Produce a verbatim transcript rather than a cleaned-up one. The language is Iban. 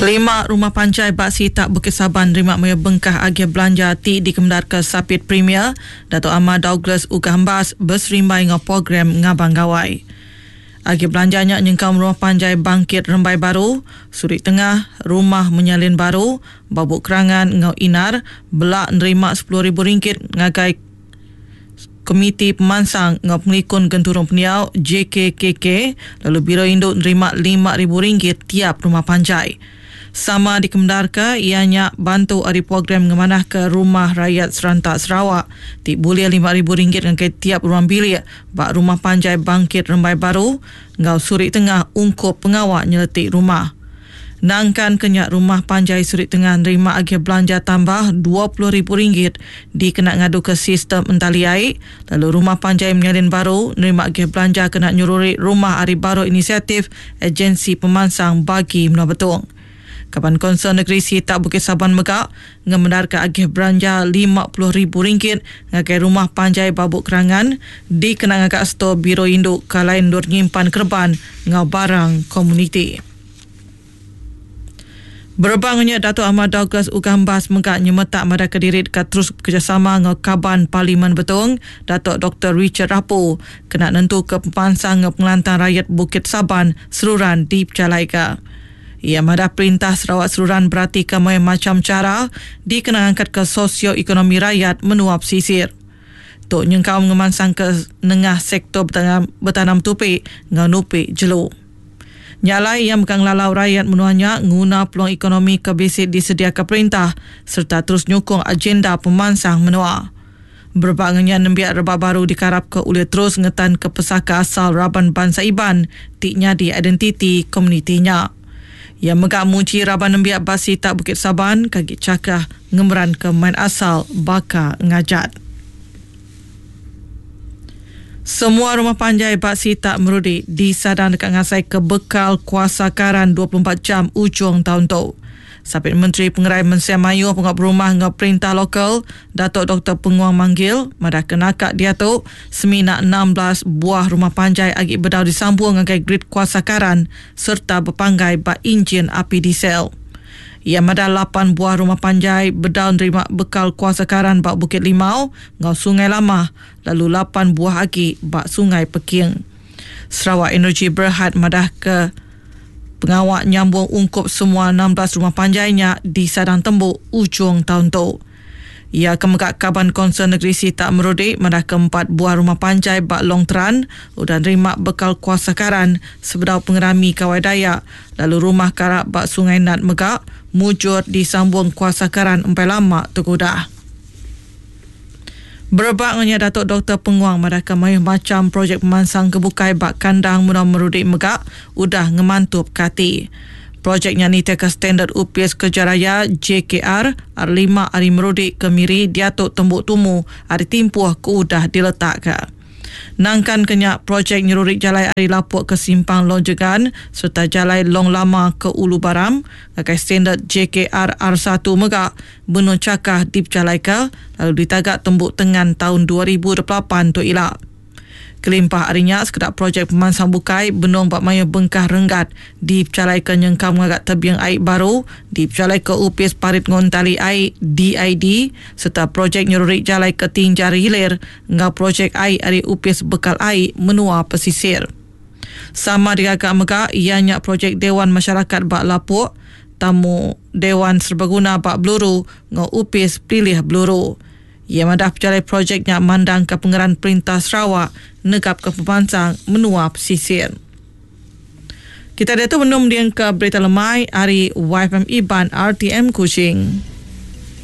Lima rumah panjai ba sitak Bukit Saban nerima mayuh bengkah agih belanja ti dikemendarka Sapit Premier Datuk Amar Douglas Uggah Embas beserimbai enggau program Ngabang Gawai. Agih belanja nya nyengkaum rumah panjai Bangkit Rembai Baru, Surik Tengah, Rumah Menyalin Baru, Babuk Kerangan enggau Inar bela nerima sepuluh ribu ringgit ngagai Komiti Pemansang enggau Pengelikun Genturung Pendiau J K K K lalu Biro Indu nerima lima ribu ringgit tiap rumah panjai. Sama dikemendarka iya nya bantu ari program ngemanahka Rumah Rakyat Seranta Sarawak ti bulih lima ribu ringgit ngagai tiap ruang bilik ba Rumah Panjai Bangkit Rembai Baru enggau Surik Tengah ungkup pengawa nyeleti rumah. Nangkan ke nya Rumah Panjai Surik Tengah nerima agih belanja tambah dua puluh ribu ringgit dikena ngaduka sistem entali ai, lalu Rumah Panjai Menyalin Baru nerima agih belanja kena nyeruri rumah ari baru inisiatif Agensi Pemansang Bagi Menua Betong. Kaban Konsel Negeri Sitak Bukit Saban mega ngemendarka agih belanja lima puluh ribu ringgit ngagai Rumah Panjai Babuk Kerangan dikena ngaga stor Biro Indu ke lain endur nyimpan kerban enggau barang komuniti. Berebak nya Datuk Amar Douglas Uggah Embas mega nyemetak madahka diri deka terus bekerjasama enggau Kaban Parlimen Betong Datuk Doktor Richard Rapu kena nentuka pemansang enggau pengelantang rakyat Bukit Saban seruran dipejalaika. Ia madah perintah Sarawak seruran beratika mayuh macam cara dikena ngangkatka sosioekonomi rakyat menua pesisir. Tu nyengkaum ngemansang ke nengah sektor betanam, betanam tupi enggau nupi jelu. Nyalai ia mega ngelalau rakyat menua nya nguna peluang ekonomi ke bisi disediaka perintah serta terus nyukung agenda pemansang menua. Berebak ngenya nembiak rebak baru dikarap ke ulih terus ngetan ke pesaka asal raban bangsa Iban ti nyadi identiti komunitinya. Ia mega muji raban nembiak basi tak Bukit Saban kagi cakah ngemeran ke main asal baka ngajat. Semua rumah panjai basi tak merudi disadang dekat ngasai ke bekal kuasa karan dua puluh empat jam ujung tahun tu. Sapit Menteri Pengerai Mensia Mayuh Pengap Rumah enggau Perintah Lokal Datuk Doktor Penguang Manggil madah kenakak dia tu semina enam belas buah rumah panjai agi bedau disambung ngagai grid kuasa karan serta berpanggai ba enjin api diesel. Ia madah lapan buah rumah panjai bedau nerima bekal kuasa karan ba Bukit Limau enggau Sungai Lamah lalu lapan buah agi ba Sungai Peking. Sarawak Energy Berhad madah ke pengawak nyambung ungkup semua enam belas rumah panjainya di Sadang Tembuk ujung tahun tu. Ia kemegak Kaban Konsel Negeri Sitak Merudi madah keempat buah rumah panjai bak Long Teran udah nerima bekal kuasa karan sebedau pengerami Kawai Dayak lalu rumah karak bak Sungai Nat megak mujur disambung kuasa karan empai lama tergudah. Berebak ngenya Datuk Doktor Penguang madah ke mayuh macam projek pemansang kebukai bak kandang menua Merudi megak udah ngemantup kati. Projeknya nita ke standard Upis Kerja Raya J K R R lima ari Merudi ke Miri diatuk tembuk tumu ari timpuh ke udah diletak ke. Nangkan kenya projek nyerurik jalai ari Lapuk ke Simpang Long Jegan serta jalai Long Lama ke Ulu Baram ngagai standard J K R R satu megak benung cakah dipejalaika lalu ditagak tembuk tengan tahun dua ribu dua puluh lapan tu ila. Kelimpah harinya sekedar projek pemansang bukai benung bak mayuh bengkah renggat dipejalaika nyengkam ngagak tebiang air baru dipejalaika Upis Parit Ngontali Air D I D serta projek nyerurik jalai ke Tinjar Hilir enggau projek air ari Upis Bekal Air Menua Pesisir. Sama digagak megak ianya projek Dewan Masyarakat Bak Lapuk, Tamu Dewan Serbaguna Bak Beluru enggau Upis Pilih Beluru. Ia madah pejalai projeknya mandang ke pengeran Perintah Sarawak negap ke pemansang menua pesisir. Kita dia tu menum dia ke berita lemai hari Y F M Iban R T M Kuching.